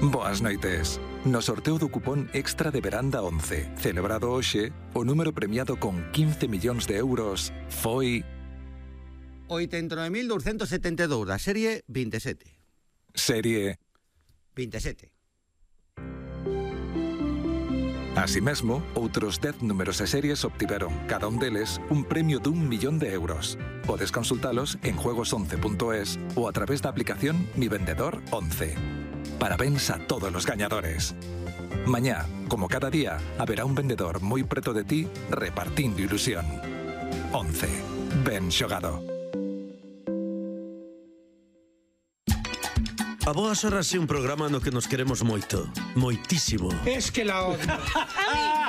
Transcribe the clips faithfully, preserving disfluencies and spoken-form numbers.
Boas noites. No sorteo do cupón extra de veranda once, celebrado hoxe, o número premiado con quince millóns de euros foi... oitenta e nove mil douscentos setenta e dous, da serie vinte e sete. Serie... vinte e sete. Así mesmo, outros dez números e series obtiveron, cada un deles, un premio dun millón de euros. Podes consultalos en juegos once punto es ou a través da aplicación Mi Vendedor once. Parabéns a todos los gañadores. Mañá, como cada día, haberá un vendedor moi preto de ti repartindo ilusión. once. Ben xogado. A Boas Horas é un programa no que nos queremos moito, moitísimo. Es que la odio.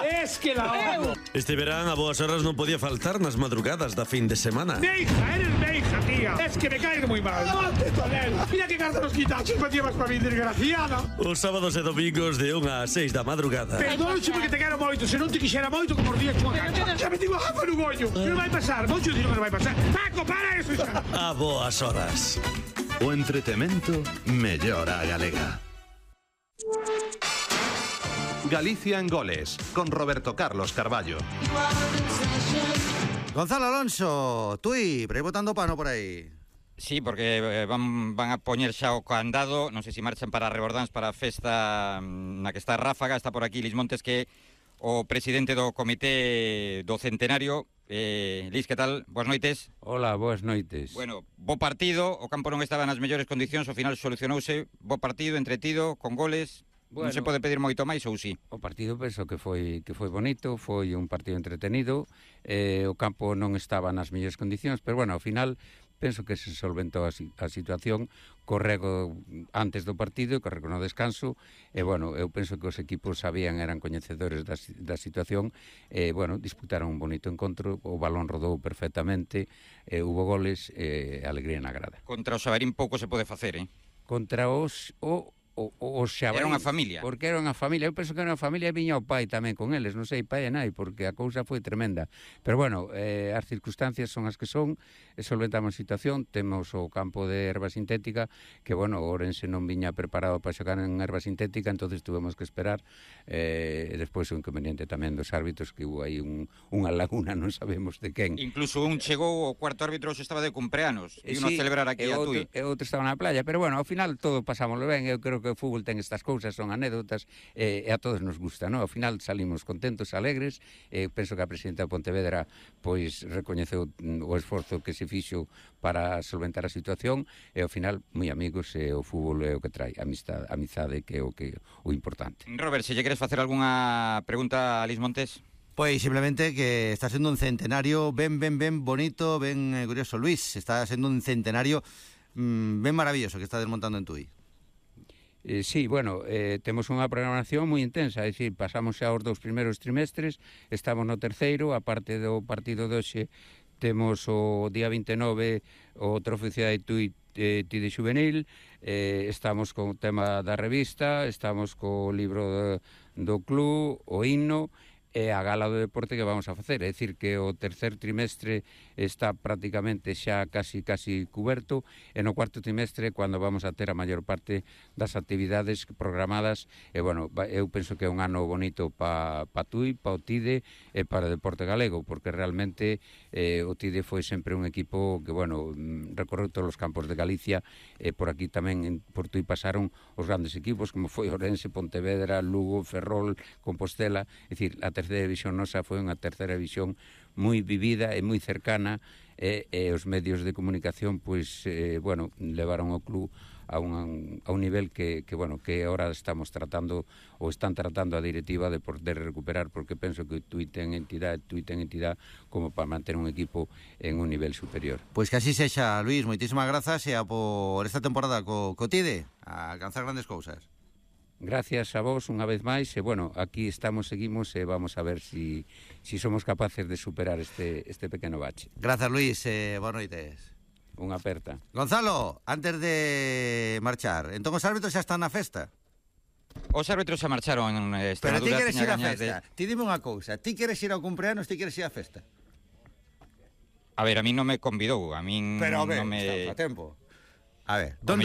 Es que la odio. Este verán a Boas Horas non podía faltar nas madrugadas da fin de semana. Meija, eres meija, tía. Es que me caes muy mal. ¡Levante, Tonel! Mira que carta los quitachos me llevas para mi desgraciada. Os sábados e domingos de unha a seis da madrugada. Perdónche porque te quero moito. Se non te quixera moito, como os días chunga cancha. Ya me digo, jafa no gollo. Que non vai pasar. Mocho dino que non vai pasar. Paco, para eso, xa. A Boas Horas. O entretemento mellora a galega. Galicia en goles, con Roberto Carlos Carballo. Gonzalo Alonso, tui, por aí botando pano por aí. Sí, porque eh, van, van a poñer xa o candado. Non sei se marchan para Rebordáns, para a festa na que está Ráfaga. Está por aquí Lis Montes, que o presidente do comité do centenario. Eh, Lis, que tal? Boas noites. Hola, boas noites. Bueno, bo partido, o campo non estaba nas mellores condicións, ao final solucionouse, bo partido, entretido, con goles. Bueno, non se pode pedir moito máis ou sí? O partido penso que foi que foi bonito, foi un partido entretenido, eh, o campo non estaba nas mellores condicións, pero bueno, ao final penso que se solventou a, a situación, corrego antes do partido, corrego no descanso, e, bueno, eu penso que os equipos sabían, eran coñecedores da, da situación, e, bueno, disputaron un bonito encontro, o balón rodou perfectamente, e, hubo goles, e, alegría na grada. Contra o Xabarín pouco se pode facer, eh? Contra os... O, O, o, o Xabarín, era unha familia. Porque era unha familia. Eu penso que era unha familia e viña o pai tamén con eles. Non sei, pai e nai, porque a cousa foi tremenda. Pero bueno, eh, as circunstancias son as que son. E solventamos a situación. Temos o campo de erva sintética, que bueno, o Ourense non viña preparado para xogar en erva sintética, entonces tuvemos que esperar. Eh, e despois o inconveniente tamén dos árbitros, que hubo aí un, unha laguna, non sabemos de quen. Incluso un chegou, o cuarto árbitro estaba de cumpleanos. E sí, non celebrar aquí a Tui. E outro estaba na playa. Pero bueno, ao final todo pasámoslo ben. Eu creo que o fútbol ten estas cousas, son anécdotas, eh, e a todos nos gusta, non? Ao final salimos contentos, alegres, e eh, penso que a presidenta de Pontevedra pois recoñeceu o esforzo que se fixo para solventar a situación, e ao final moi amigos, e o fútbol é o que trae, amistade, amizade, que é o que o importante. Robert, se lle queres facer algunha pregunta a Lis Montes? Pois simplemente que está sendo un centenario ben, ben, ben bonito, ben eh, curioso. Luis, está sendo un centenario mmm, ben maravilloso que está desmontando en Tui. Eh, sí, bueno, eh, temos unha programación moi intensa, é dicir, pasamos xa os dous primeiros trimestres, estamos no terceiro, a parte do partido de hoxe, temos o día vinte e nove o Trofeo Cidade de Tui eh, Tide Xuvenil, eh, estamos con o tema da revista, estamos co libro do, do club, o himno, e a gala do deporte que vamos a facer. É dicir, que o tercer trimestre está prácticamente xa casi casi cuberto, e no cuarto trimestre, cando vamos a ter a maior parte das actividades programadas, e, bueno, eu penso que é un ano bonito pa, pa Tui, pa o Tide e para o deporte galego, porque realmente eh, o Tide foi sempre un equipo que, bueno, recorreu todos os campos de Galicia, e por aquí tamén en, por Tui pasaron os grandes equipos, como foi Ourense, Pontevedra, Lugo, Ferrol, Compostela. É dicir, a terceira división nosa foi unha terceira división moi vivida e moi cercana, e, e os medios de comunicación pois, eh, bueno, levaron o club a un, a un nivel que, que, bueno, que ahora estamos tratando, ou están tratando a directiva de poder recuperar, porque penso que Tui ten entidade, Tui ten entidade como para manter un equipo en un nivel superior. Pois que así sexa, Luis, moitísimas grazas, e a por esta temporada co, co Tide a alcanzar grandes cousas. Gracias a vos unha vez máis, e bueno, aquí estamos, seguimos, e vamos a ver si, si somos capaces de superar este, este pequeno bache. Gracias, Luis, eh, boas noites. Unha aperta. Gonzalo, antes de marchar, entón os árbitros xa están na festa? Os árbitros xa marcharon en Extremadura. Pero ti queres ir á festa, de... ti dime unha cousa, ti queres ir ao cumpleanos, ti queres ir á festa? A ver, a mí non me convidou, a min Pero a ver, non me... está a tempo. A ver, donde